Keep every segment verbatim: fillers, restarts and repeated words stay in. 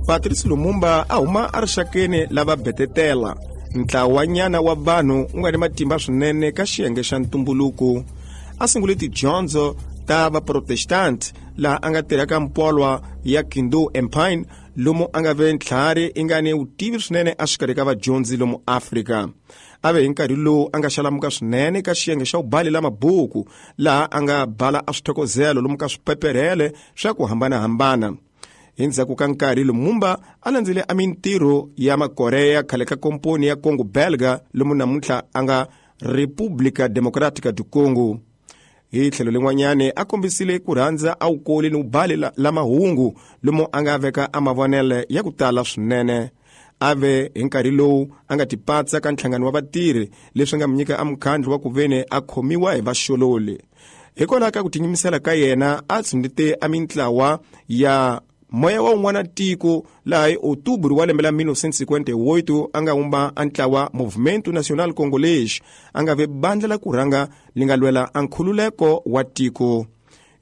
Patrice Lumumba a huma erixakeni lava betetela ntlawanyana wa vanhu u nga ni matimba swinene ka xiyenge xa ntumbuluko. A sungule tidyondzo ta vaprotestant laha a nga tirha ka mpolwa ya Kindu Empire lomu a nga ve ntlhari i nga ni vutivi swinene exikarhi ka vadyondzi lomu Afrika. A ve hi nkarhi lowu a nga xalamuka swinene ka xiyenge xa ubali la mabuku laha a nga bala a swithokozelo lomu ka swipeperhele swa ku hambanahambana. Hi ndzhaku ka nkarhi Lumumba a landzele a mintirho ya Makorea khale ka komponi ya Congo Belga lomu namuntlha a nga República Democrática do Congo. Hi tlhelo lin'wanyani a kombisile ku rhandza a wukoli ni ubali la, la mahungu lomu a nga veka a mavonele ya ku tala swinene. A ve hi nkarhi lowu a nga tipatsa ka nhlangano wa vatirhi leswi nga mu nyika a mukhandlu wa ku veni a khomiwa hi vaxololi. Hikwalaho ka ku tinyimisela ka yena a tshundite a mintlawa ya moya wa un'wana tiko laha hi Outubro wa lembe la mil novecentos e cinquenta e oito a nga wumba a ntlawa Movimento Nacional Congolês a nga ve bandla la ku rhanga li nga lwela a nkhululeko wa tiko.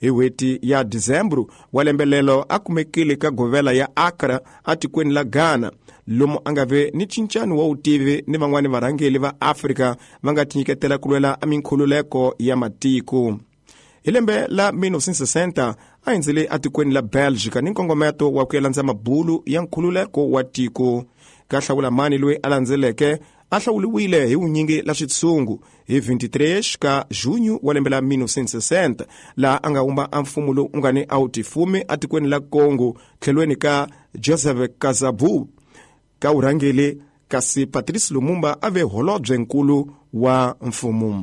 Hi n'hweti ya Dezembro wa lembe lelo a kumekile ka govela ya Accra atikweni la Ghana lomu a nga ve ni cincano wa vutivi ni van'wani varhangeli va Afrika va nga tinyiketela ku lwela a minkhululeko ya matiko. Hi lembe la mil novecentos e sessenta a hindzile atikweni la Belgica ni nkongometo wa ku ya landza mabulu ya nkhululeko wa tiko. Ka hlawula mani loyi a landzeleke a hlawuliwile hi vunyingi la xitshungu hi vinte e três ka junho wa lembe la mil novecentos e sessenta laha a nga wumba a mfumo lowu u nga ni a wu tifumi atikweni la Congo tlhelweni ka Joseph Kasavubu ka vurhangeli, kasi Patrice Lumumba a ve holobye nkulu wa mfumo.